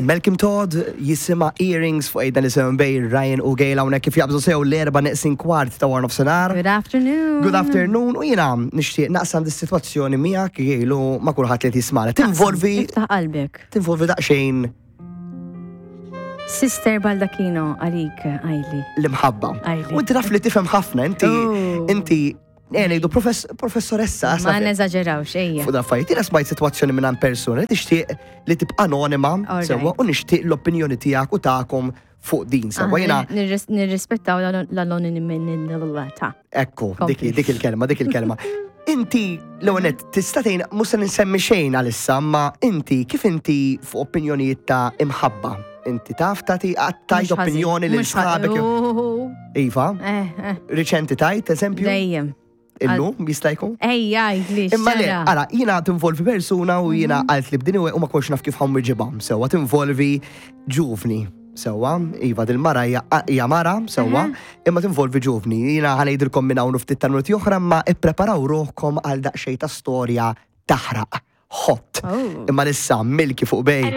Malcolm Todd jisimha Earrings fuq Ejda Nisimgħu Bay, Ryan u Gail hawnhekk kif jaqbżu sew l-erba' neqsin kwart ta' wara nofsinhar. Good afternoon. Good afternoon u jiena nixtieq naqsam dis-sitwazzjoni miegħek Gail u ma' kulħadd li qed jismagħna. Tinvolvi Iftaħ qalbek. Tinvolvi daqsxejn Sister Baldacchino għalik għajli. L-imħabba. U inti taf li tifhem ħafna, inti oh. inti Eh, ngħidu professoressa. Ma neżaġerawx, ejja. Fuq affarijiet, jiena smajt sitwazzjoni minn persuna li tixtieq li tibqa' anonima, sewwa, u nixtieq l-opinjoni tiegħek u tagħkom fuq din, sewwa jiena. Nirrispettaw l-anonimità. Ekku, dik dik il-kelma, dik il-kelma. Inti, l-ewwel tista' tgħin mhux se nsemmi xejn għalissa, ma inti kif inti fuq opinjonijiet ta' imħabba? Inti taf tagħti tajt opinjoni lil sħabek. Iva. Eh, eh. Riċenti tajt, eżempju? Dejjem. Illum jista' jkun? Ejja, li. Imma le, ara, jiena tinvolvi persuna u jiena mhm. qalt li b'din u ma kontx naf kif ħamm iġibha. Sewwa tinvolvi ġuvni. Sewwa, iva dil-mara hija mara, sewwa, mhm. imma tinvolvi ġuvni. Jiena ħanejdilkom minn hawn ftit ta' minuti oħra ma ippreparaw ruħkom għal daqsxejn ta' storja taħraq. Hot. Oh. Imma lissa milki fuq bej.